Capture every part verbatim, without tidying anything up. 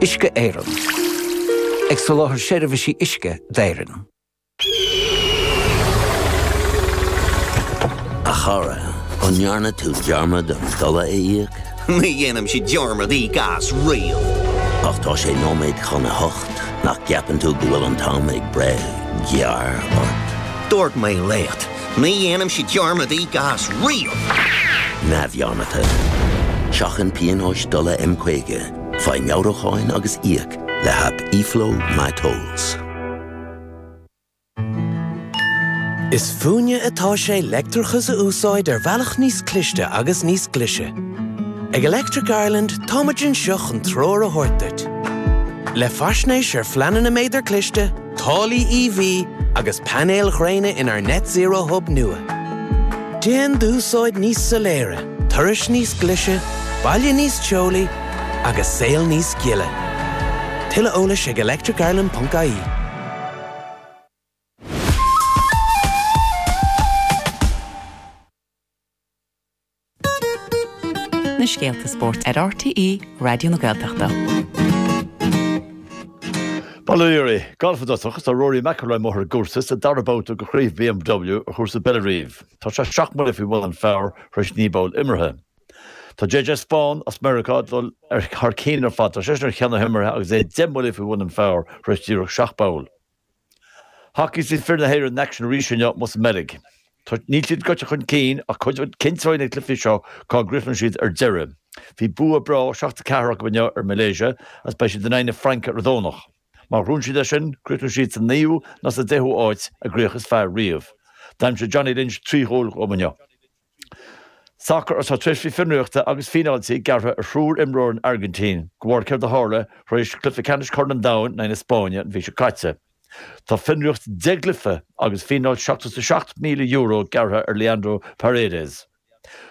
Uisce Éireann. Ag soláthar seirbhísí uisce d'Éirinn. A chara, an ndearna tú dearmad an dola a íoc? Ní dhéanaimse dearmad íoc as riamh. Ach tá sé nóiméad chun a hocht nach gceapann tú go bhfuil an t-am ag breith gearr ort. Dúirt mé leat, ní dhéanaimse dearmad íoc as riamh. Neamhdhearmadta. Seachain pionóis dola M caoga, faigh meabhrúcháin agus íoc le haip eFlow MyTolls. Is fúinne atá sé leictreachas a úsáid ar bhealach níos cliste agus níos glaise. Ag Electric Ireland táimid anseo chun treoir a thabhairt duit. Le faisnéis ar phleananna méadar cliste, táillí EV agus painéil ghréine inár Net Zero Hub nua. Déan d'úsáid níos soiléire, turais níos glaise, baile níos teolaí agus saol níos gile. Tuilleadh eolais ag electricireland.ie. Na scéalta spóirt ar RTÉ Raidió na Gaeltachta. Bail ó Dhia oraibh, Galf i dtosach, tá Rory McIlroy amuigh ar an gcúrsa sa dara babhta de chraobh BMW ar chúrsa Bellerive. Tá sé seacht mbuille faoi bhun an phar tar éis naoi bpoll imeartha. Tá JJ Spaun as Meiriceá ag dul ar thar cinn ar fad, tá seisean ar cheann na himeartha agus é deich mbuille faoi bhun an phar tar éis díreach seacht bpoll. Hacaí is fir na hÉireann in aicsean arís inniu amuigh sa mBeilg. Níl siad gaibhte chun cinn ach cinnteoidh na cluichí seo cá gcríochnóidh siad ar deireadh. Bhí bua breá seacht a ceathair acu inniu ar Malaysia agus beidh siad in aghaidh na Fraince ar an Domhnach. Má ghnóthaíonn siad é sin, críochnóidh siad sa naoú nó sa deichiú háit, a gcríoch is fearr riamh. D'aimsigh Johnny Lynch trí chúl dóibh inniu. Sacar Tá tréimhsí fionraíochta agus fíneáiltí gearrtha ar thriúr imreoir an Airgintín de bharr céard a tharla tar éis cluiche ceannais Chorn an Domhain in aghaidh na Spáinne an mhí seo caite. Tá fionraíocht deich gcluiche agus fíneáil seachtó is a seacht míle euro gearrtha ar Leandro Paredes.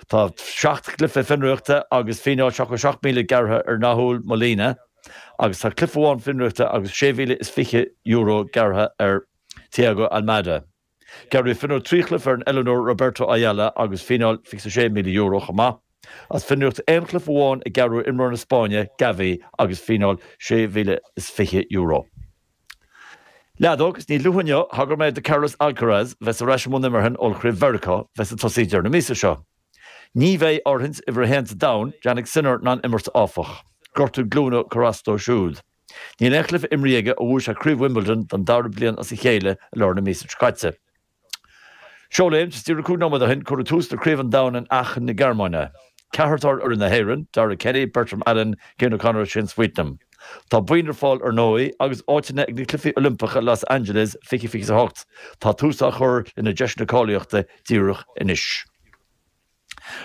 Tá seacht gcluiche fionraíochta agus fíneáil seachtó seacht míle gearrtha ar Nahuel Molina agus tá cluiche amháin fionraíochta agus sé mhíle is fiche euro gearrtha ar Thiago Almada. Gearradh fionraíocht trí chluiche ar an oiliúnóir Roberto Ayala agus fíneáil fiche sé míle euro chomh maith. As fionraíocht aon chluiche amháin a gearradh ar imreoir na Spáinne, Gavi, agus fíneáil sé mhíle is fiche euro. Leadóg, is níos luaithe inniu, thagair mé do Carlos Alcaraz bheas ar ais i mbun imeartha in Ollchraobh Mheiriceá, bheas ag tosaí deireadh na míosa seo. Ní bheidh áirithint uimhir a haon sa domhan, Jannik Sinner, in ann imirt áfach. Gortú glúine a chuir as dó siúd. Níl aon chluiche imrithe aige ó bhuaigh sé Craobh Wimbledon don dara bliain as a chéile i lár na míosa seo caite. Seoléim, is díreach cúig nóiméad ó shin, cuireadh tús le Craobh an Domhain in Aachen na Gearmáine. Ceathrar atá ar fhoireann na hÉireann, Darragh Kenny, Bertram Allen, Cian O'Connor agus Shane Sweetnam. Tá boinn ar fáil ar ndóigh agus áiteanna ag na Cluichí Oilimpeacha Los Angeles fiche fiche a hocht. Tá tús á chur lena deiseanna cáilíochta díreach anois.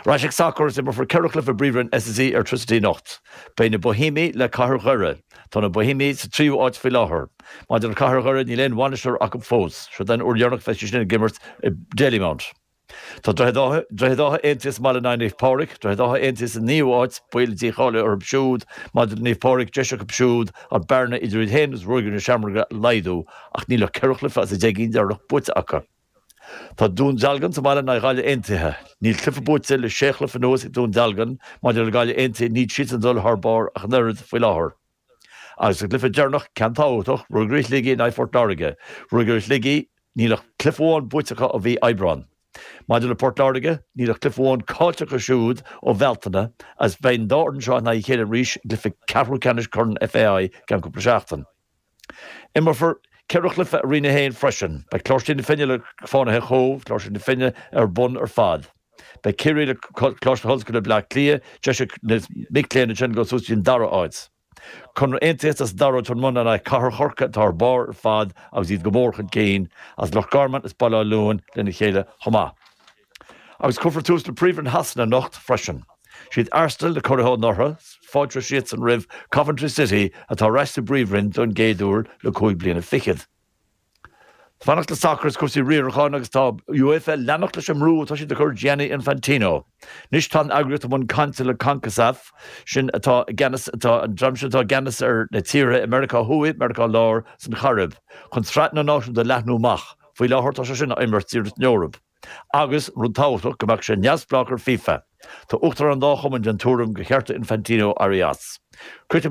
Ar ais ag sacar is imreofar ceithre chluiche i bPríomhroinn SSE Airtricity anocht. Beidh na Boihéamaigh le Cathair Dhoire. Tá na Boihéamaigh sa tríú háit faoi láthair. Maidir le Cathair Dhoire níl aon bhainisteoir acu fós. Seo den uair dheireanach a bheidh siad sin ag imirt i Dalymount. Tá Droichead Átha, Droichead Átha Aontaithe sa mbaile in aghaidh Naomh Pádraig, Droichead Átha Aontaithe sa naoú háit, baol dícháilithe orthu siúd. Maidir le Naomh Pádraig, deis acu siúd an bearna idir iad féin agus Ruagairí na Seamróige a laghdú ach níl ach ceithre chluiche as a deich gcinn deireanach buaite acu. Tá Dún Dealgan sa mbaile in aghaidh Ghaillimh Aontaithe. Níl cluiche buaite le sé chluiche anuas ag Dún Dealgan. Maidir le Gaillimh Aontaithe, níl siadsan ag dul thar barr ach an oiread faoi láthair. Agus sa gcluiche deireanach, ceann tábhachtach, Ruagairí Shligigh in aghaidh Phort Láirge. Ruagairí Shligigh, níl ach cluiche amháin buaite acu ó mhí Aibreán. Maidir le Port Láirge, níl ach cluiche amháin caillte acu siúd ó Bhealtaine agus beidh an dá fhoireann seo in aghaidh a chéile arís i gcluiche ceathrú ceannais Chorn FAI i gceann cúpla seachtain. Imreofar ceithre chluiche i Roinn a haon freisin. Beidh Coláiste na Finne le Fánaithe Chóbh, Coláiste na Finne ar bun ar fad. Beidh Ciarraí le Coláiste na hOllscoile Bleá Cliath, deis ag na mic léinn ansin dul suas go dtí an dara háit. Conradh Aontaithe as an dara Ráth Mona in aghaidh Cathair Chorcaí atá ar barr ar fad agus iad go mór chun cinn, as Loch Garman is Baile Átha Luain lena chéile chomh maith. Agus cuirfear tús le Príomhroinn Shasana anocht freisin. Siad Arsenal na curaithe anuraidh, fáilteoidh siadsan roimh Coventry City atá ar ais sa bPríomhroinn don gcéad uair le cúig bliana fichead. Fanacht le sacar is cúrsaí riaracháin agus tá UEFA ag leanacht leis an mbrú atá siad a chur ar Gianni Infantino. Anois tá an eagraíocht i mbun cainte le Concacaf, sin atá i gceannas atá an dream sin atá i gceannas ar na tíortha i Meiriceá Thuaidh, Meiriceá Láir is an Chairib, chun Sraith na Náisiún a leathnú amach. Faoi láthair tá sé sin á imirt díreach san Eoraip. Agus, rud tábhachtach, go mbeadh sé neamhspleách ar FIFA. Tá uachtaráin an dá chumann den tuairim gur cheart do Infantino éirí as. Críochnóidh mé.